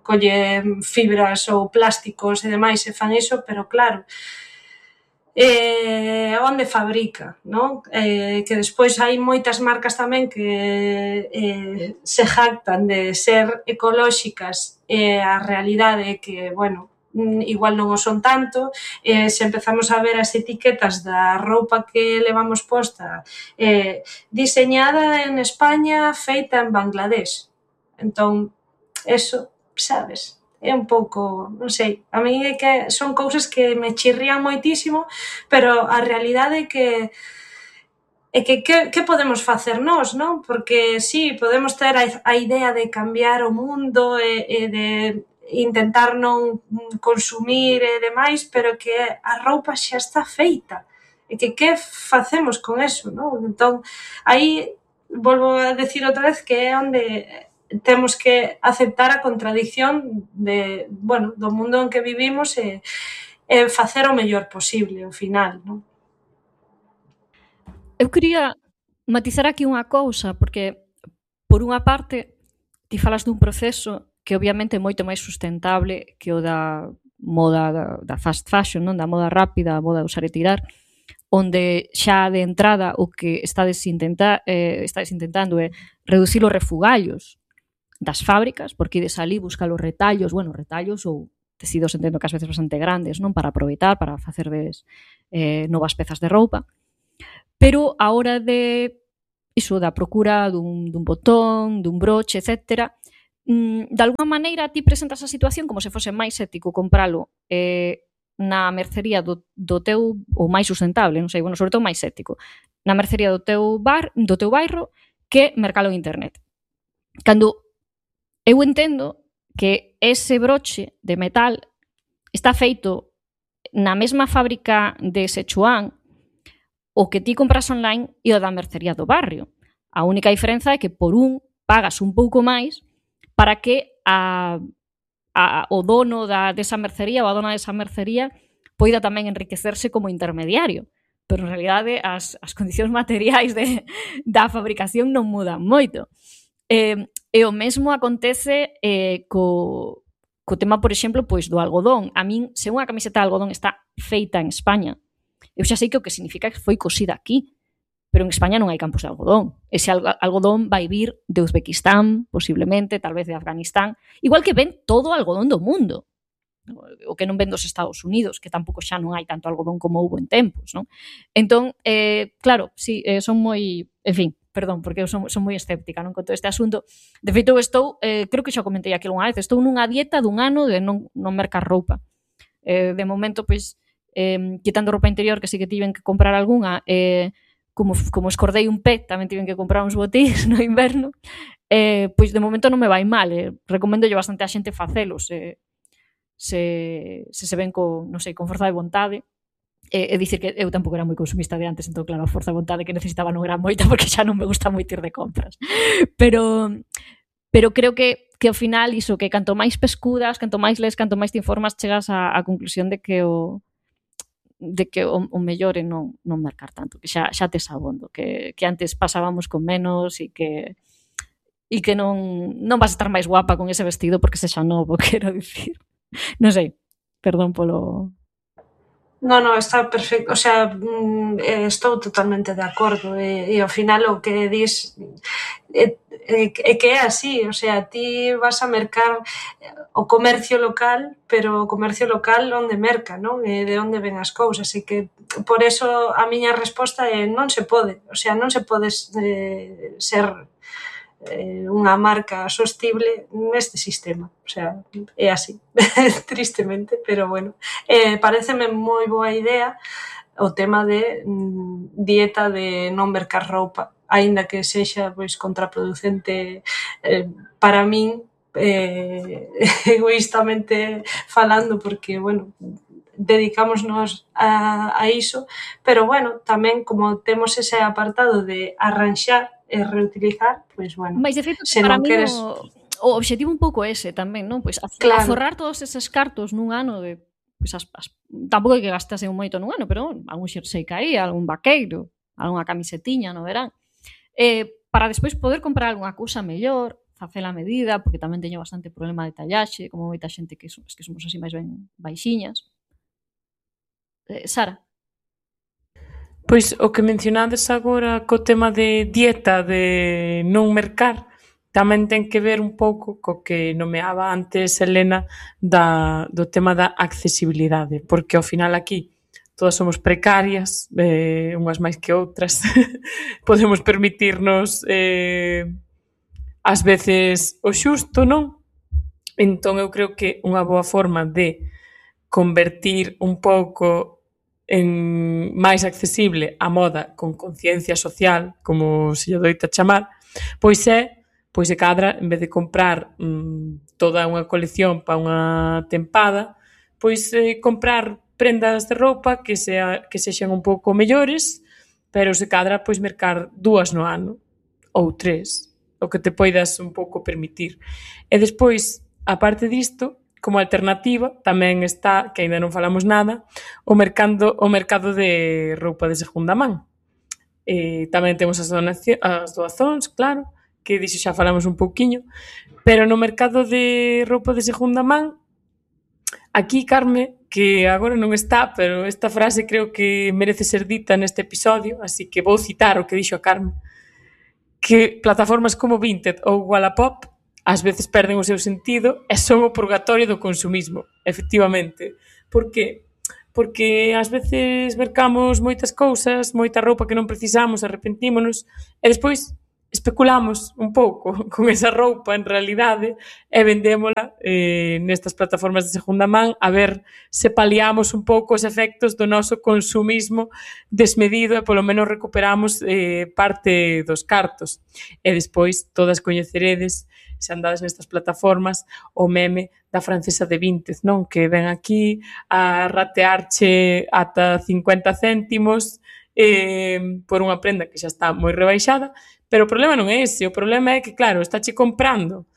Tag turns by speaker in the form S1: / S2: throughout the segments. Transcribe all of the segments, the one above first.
S1: colle fibras ou plásticos e demais e fan iso, pero claro, onde fabrica, non? Que despois hai moitas marcas tamén que se jactan de ser ecolóxicas e a realidade é que, bueno, igual non o son tanto, se empezamos a ver as etiquetas da roupa que levamos posta, diseñada en España, feita en Bangladesh. Entón, eso, sabes, é un pouco, non sei, a mí é que son cousas que me chirrían moitísimo, pero a realidade é que podemos facer nós, non? Porque sí, podemos ter a idea de cambiar o mundo e de intentar non consumir e demais, pero que a roupa xa está feita. E que facemos con eso, non? Entón, aí volvo a decir outra vez que é onde temos que aceptar a contradición de, bueno, do mundo en que vivimos e facer o mellor posible ao final, non?
S2: Eu quería matizar aquí unha cousa, porque, por unha parte, ti falas dun proceso que obviamente é moito máis sustentable que o da moda da fast fashion, non? Da moda rápida, a moda de usar e tirar, onde xa de entrada o que estades intentando é reducir os refugallos das fábricas, porque ides ali buscar os retallos, bueno, retallos ou tecidos entendo que ás veces bastante grandes, non? Para aproveitar, para facerdes novas pezas de roupa. Pero a hora de iso, da procura dun botón, dun broche, etc., de alguma maneira ti presentas a situación como se fose máis ético compralo na mercería do teu, ou máis sustentable, non sei, bueno, sobre todo máis ético, na mercería do teu bairro que mercalo en internet. Cando eu entendo que ese broche de metal está feito na mesma fábrica de Sichuan o que ti compras online e o da mercería do barrio. A única diferenza é que por un pagas un pouco máis para que o dono desa mercería ou a dona desa mercería poida tamén enriquecerse como intermediario. Pero en realidade as condicións materiais da fabricación non mudan moito. E o mesmo acontece co tema, por exemplo, pois do algodón. A min, se unha camiseta de algodón está feita en España, eu xa sei que o que significa que foi cosida aquí, pero en España non hai campos de algodón. Ese algodón vai vir de Uzbequistán, posiblemente, tal vez de Afganistán, igual que ven todo o algodón do mundo. O que non ven dos Estados Unidos, que tampouco xa non hai tanto algodón como houbo en tempos, non? Entón, claro, sí, son moi... En fin, perdón, porque eu son moi escéptica, non, con todo este asunto. De feito, eu estou, creo que xa comentei aquí unha vez, estou nunha dieta dun ano de non mercar roupa. De momento, pois, quitando roupa interior, que sí que tiven que comprar algunha, como escordei un pé, tamén tiven que comprar uns botíns no inverno, pois de momento non me vai mal. Recomendo bastante a xente facelos, se ven con, non sei, con forza de vontade. É dicir que eu tampouco era moi consumista de antes, entón claro, a forza de vontade que necesitaba non era moita porque xa non me gusta moito ir de compras. Pero creo que ao final iso, que canto máis pescudas, canto máis lees, canto máis te informas, chegas á conclusión de que o mellor é non mercar tanto, que xa tes abondo, que antes pasábamos con menos e que non vas a estar máis guapa con ese vestido porque sexa novo, quero dicir. Non sei, perdón polo...
S1: No, está perfecto, o sea, estou totalmente de acordo e ao final o que dis é que é así, o sea, ti vas a mercar o comercio local, pero o comercio local onde merca, non? E de onde ven as cousas, e que por eso a miña resposta é non se pode, o sea, non se pode ser unha marca sostible neste sistema, o sea, é así, tristemente, pero bueno, pareceme moi boa idea o tema de dieta de non mercar roupa, aínda que sexa pois contraproducente para min, egoístamente falando, porque, bueno, dedicámonos a iso, pero, bueno, tamén como temos ese apartado de arranxar e reutilizar, pois, bueno,
S2: mais de feito,
S1: se
S2: para
S1: non
S2: mí
S1: queres...
S2: o objetivo un pouco ese tamén, non? Pois aforrar todos eses cartos nun ano de... Pois tampouco hai que gastase moito nun ano, pero algún xersei caía, algún vaqueiro, algunha camisetiña no verán. Para despois poder comprar algunha cousa mellor, facela a medida, porque tamén teño bastante problema de tallaxe, como moita xente que somos así máis ben baixiñas. Sara?
S3: Pois o que mencionades agora co tema de dieta, de non mercar, tamén ten que ver un pouco co que nomeaba antes Helena do tema da accesibilidade, porque ao final aquí todas somos precarias, unhas máis que outras, podemos permitirnos ás veces o xusto, non? Entón eu creo que unha boa forma de convertir un pouco en máis accesible a moda con conciencia social, como se lle doita chamar, pois se cadra, en vez de comprar toda unha colección para unha tempada, pois comprar prendas de roupa que sexan un pouco mellores, pero se cadra pois mercar 2 no ano, ou 3, o que te poidas un pouco permitir. E despois, a parte disto, como alternativa, tamén está, que aínda non falamos nada, o mercado de roupa de segunda man. Tamén temos as doazóns, claro, que diso xa falamos un pouquiño, pero no mercado de roupa de segunda man, aquí, Carme, que agora non está, pero esta frase creo que merece ser dita neste episodio, así que vou citar o que dixo a Carme, que plataformas como Vinted ou Wallapop ás veces perden o seu sentido e son o purgatorio do consumismo, efectivamente. Por que? Porque ás veces mercamos moitas cousas, moita roupa que non precisamos, arrepentímonos, e despois especulamos un pouco con esa roupa en realidade e vendémola nestas plataformas de segunda man a ver se paliamos un pouco os efectos do noso consumismo desmedido e polo menos recuperamos parte dos cartos. E despois todas coñeceredes, se andades nestas plataformas, o meme da francesa de Vinted, non? Que ven aquí a ratearche ata 50 céntimos por unha prenda que xa está moi rebaixada, pero o problema non é ese, o problema é que, claro, estáche comprando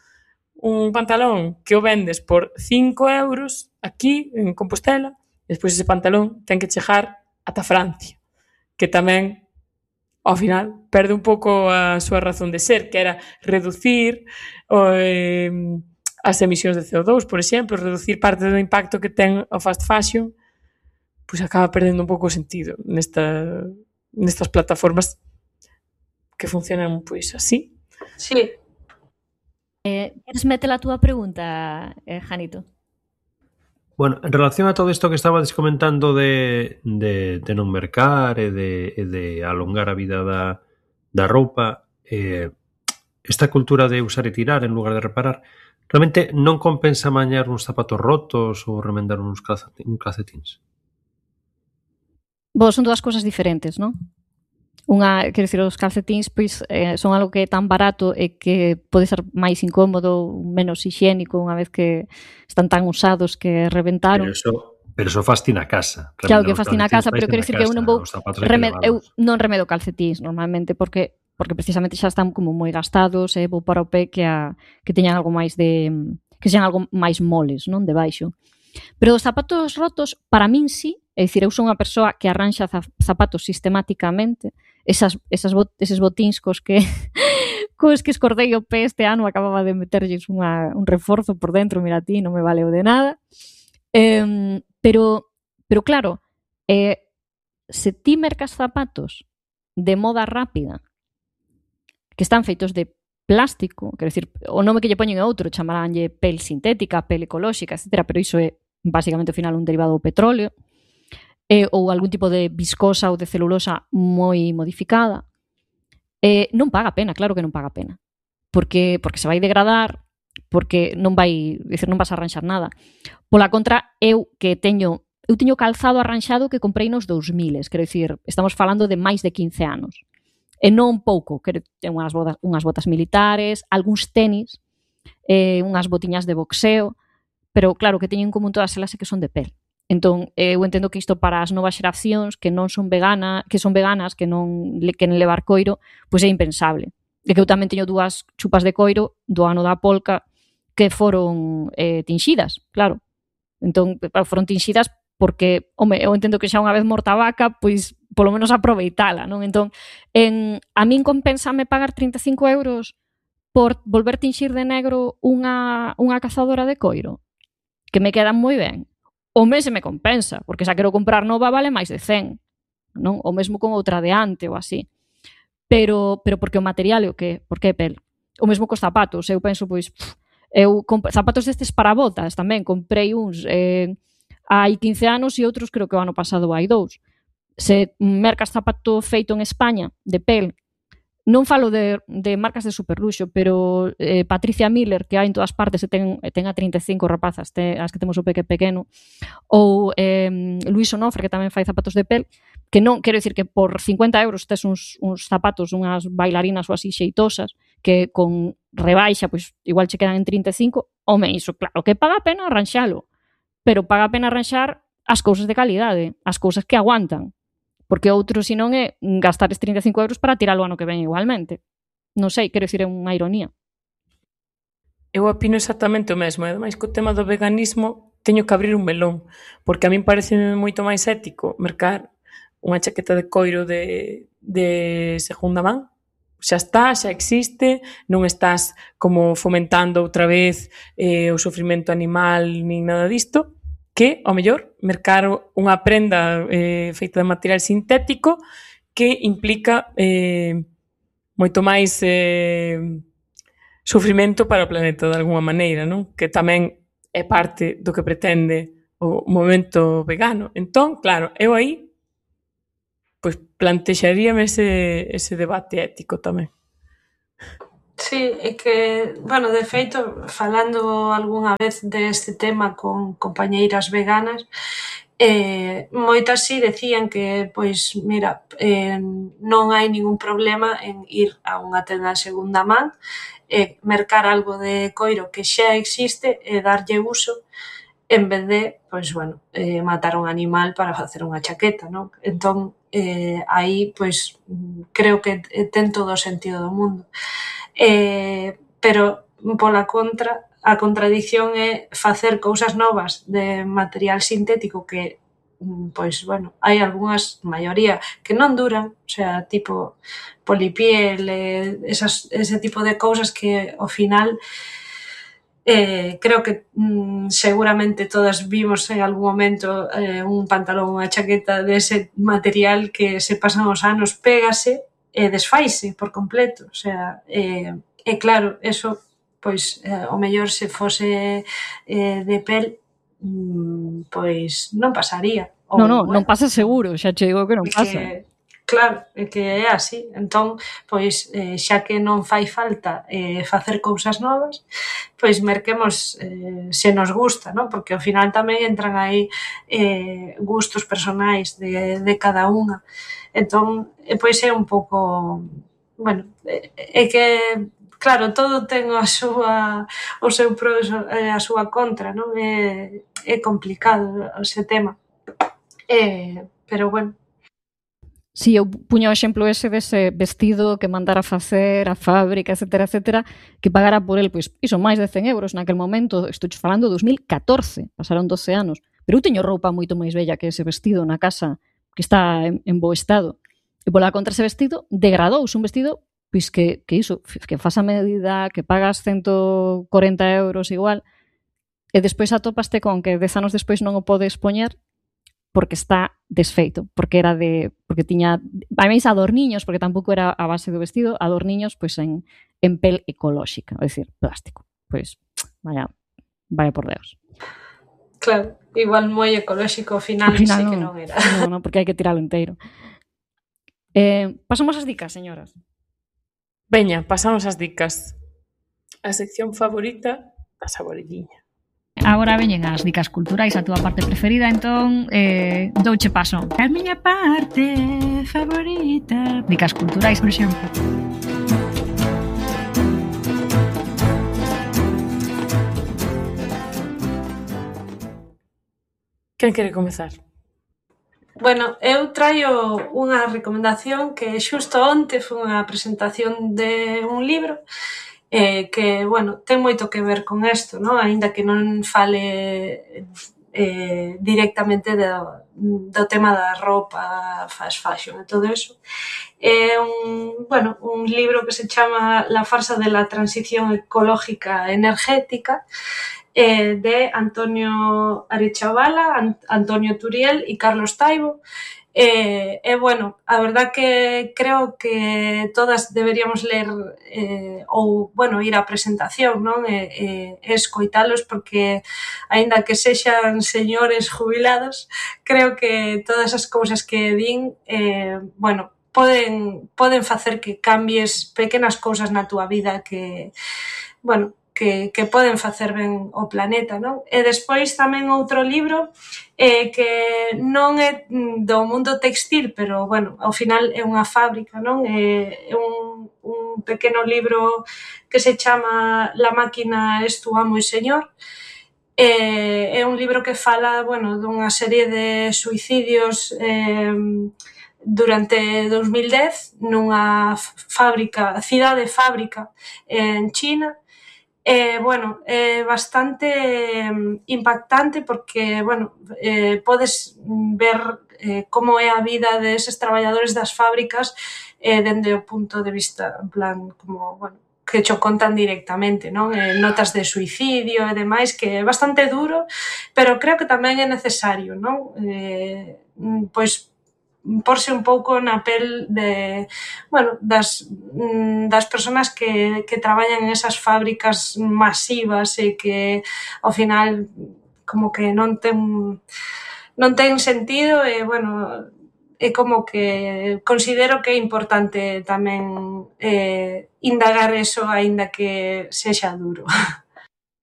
S3: un pantalón que o vendes por 5 euros aquí, en Compostela, e despois ese pantalón ten que chegar ata Francia, que tamén ao final perde un pouco a súa razón de ser, que era reducir as emisións de CO2, por exemplo, reducir parte do impacto que ten o fast fashion, pois acaba perdendo un pouco o sentido nestas plataformas que funcionan pois así.
S1: Sí.
S2: Queres meter a túa pregunta, Janito?
S4: Bueno, en relación a todo isto que estabades comentando de non mercar e de alongar a vida da roupa, esta cultura de usar e tirar en lugar de reparar, realmente non compensa mañar uns zapatos rotos ou remendar uns calcetins?
S2: Son dúas cousas diferentes, non? Unha, quero dicir, os calcetins pois son algo que é tan barato e que pode ser máis incómodo, menos hixiénico unha vez que están tan usados que reventaron.
S4: Pero eso fasti na casa.
S2: Claro que fasti na casa, pero quero dicir que eu non vou eu non remedo calcetins normalmente porque precisamente xa están como moi gastados e vou para o pé que teñan algo máis que sean algo máis moles, non, debaixo. Pero os zapatos rotos, para min sí, é dicir, eu son unha persoa que arranxa zapatos sistemáticamente, eses botíns cos que escordei o pé este ano, acababa de meterlles un reforzo por dentro, mira ti, non me valeu de nada. Pero claro, se ti mercas zapatos de moda rápida que están feitos de plástico, quero dicir, o nome que lle poñen é outro, chamaránlle pel sintética, pel ecolóxica, etc., pero iso é basicamente ao final un derivado do petróleo, ou algún tipo de viscosa ou de celulosa moi modificada, non paga pena, claro que non paga pena, porque se vai degradar, porque non vas a arranxar nada. Pola contra, eu teño calzado arranxado que comprei nos 2000, quero dicir, estamos falando de máis de 15 anos. E non pouco, ten unhas botas militares, algúns tenis, unhas botiñas de boxeo, pero claro, que teñen en común todas elas é que son de pel. Entón, eu entendo que isto para as novas xeracións que non son veganas, que non queren levar coiro, pois é impensable. E que eu tamén teño 2 chupas de coiro do ano da polca que foron tinxidas, claro. Entón, foron tinxidas porque, eu entendo que xa unha vez morta a vaca, pois polo menos aproveitala, non? Entón, a min compensame pagar 35 euros por volver tinxir de negro unha cazadora de coiro, que me quedan moi ben, o mes se me compensa, porque xa quero comprar nova vale máis de 100, non? O mesmo con outra de ante ou así. Pero porque o material é o que? Porque é pel. O mesmo cos zapatos, eu penso, pois, zapatos destes para botas tamén, comprei uns hai 15 anos e outros creo que o ano pasado hai 2. Se mercas zapato feito en España, de pel, non falo de marcas de superluxo, pero Patricia Miller, que hai en todas partes, e ten a 35 rapazas, as que temos o pequeno, ou Luis Onofre, que tamén fai zapatos de pel, que non, quero dicir que por 50 euros tes uns zapatos, unhas bailarinas ou así xeitosas, que con rebaixa, pois igual che quedan en 35, home, iso, claro, que paga a pena arranxalo, pero paga a pena arranxar as cousas de calidade, as cousas que aguantan. Porque outro, se non, é gastar 35 euros para tiralo ano que ven igualmente. Non sei, quero dicir, é unha ironía.
S3: Eu opino exactamente o mesmo, e ademais co tema do veganismo teño que abrir un melón, porque a min parece moito máis ético mercar unha chaqueta de coiro de segunda man. Xa está, xa existe, non estás como fomentando outra vez o sofrimento animal nin nada disto, que, ao mellor, mercar unha prenda feita de material sintético que implica moito máis sofrimento para o planeta, de alguma maneira, non? Que tamén é parte do que pretende o movemento vegano. Entón, claro, eu aí pois plantexaríame ese debate ético tamén.
S1: Sí, é que, bueno, de feito, falando algunha vez deste tema con compañeiras veganas, moitas sí decían que, pois, mira, non hai ningún problema en ir a unha tenda de segunda man e mercar algo de coiro que xa existe e darlle uso en vez de, pois, bueno, matar un animal para facer unha chaqueta, non? Entón, aí, pois, creo que ten todo o sentido do mundo. Pero, pola contra, a contradición é facer cousas novas de material sintético que, pois, bueno, hai algunhas, maioría, que non duran, o sea, tipo polipiel, ese tipo de cousas que, ao final, creo que seguramente todas vimos en algún momento un pantalón, unha chaqueta dese material que se pasan os anos, pégase e desfaise por completo, o sea, e claro, eso, pois, o mellor se fose de pel, pois non pasaría.
S2: Non pasa seguro, xa che digo que non pasa.
S1: Claro, é que é así. Entón, pois, xa que non fai falta facer cousas novas, pois merquemos se nos gusta, non? Porque ao final tamén entran aí gustos personais de cada unha. Entón, pois é un pouco... Bueno, é que, claro, todo ten o seu pro e a súa contra, non? É complicado ese tema. Pero, bueno,
S2: Si, eu puño o exemplo ese dese vestido que mandara facer a fábrica, etcétera, que pagara por el, pois, iso, máis de 100 euros naquel momento, estou falando de 2014, pasaron 12 anos, pero eu teño roupa moito máis bella que ese vestido na casa, que está en bo estado, e pola contra ese vestido degradouse, un vestido, pois que iso, que faz a medida, que pagas 140 euros igual, e despois atopaste con que 10 anos despois non o podes poñer, porque está desfeito, porque tiña máis adorniños, porque tampouco era a base do vestido, adorniños pois en pel ecolóxica, é dicir, plástico. Pois, vaya por Deus.
S1: Claro, igual moi ecolóxico ao final sí que non era.
S2: Non, porque hai que tiralo inteiro. Pasamos as dicas, señoras.
S3: Veña, pasamos as dicas. A sección favorita da Saborelliña.
S2: Agora veñen as dicas culturais, a túa parte preferida, entón douche paso. A miña parte favorita. Dicas culturais, por exemplo.
S3: Quen quere comezar?
S1: Bueno, eu traio unha recomendación que xusto onte foi unha presentación de un libro que, bueno, ten moito que ver con isto, non? Aínda que non fale directamente do tema da roupa, fast fashion e todo eso. É un libro que se chama La farsa de la transición ecológica energética, de Antonio Arechavala, Antonio Turiel e Carlos Taibo. Bueno, a verdad que creo que todas deberíamos ler ou, bueno, ir á presentación, non? Escoitalos, porque aínda que sexan señores jubilados, creo que todas as cousas que din, bueno, poden facer que cambies pequenas cousas na túa vida que, bueno, que poden facer ben ao planeta, non? E despois tamén outro libro que non é do mundo textil, pero, bueno, ao final é unha fábrica, non? É un pequeno libro que se chama La máquina es tu amo e señor. É un libro que fala, bueno, dunha serie de suicidios durante 2010 nunha cidade fábrica en China. Bueno, é bastante impactante porque, bueno, podes ver como é a vida deses traballadores das fábricas dende o punto de vista, en plan, como, bueno, que cho contan directamente, non? Notas de suicidio e demais, que é bastante duro, pero creo que tamén é necesario, non? Pois porse un pouco na pel de, bueno, das persoas que traballan en esas fábricas masivas e que ao final como que non ten sentido e, bueno, é como que considero que é importante tamén indagar eso, aínda que sexa duro.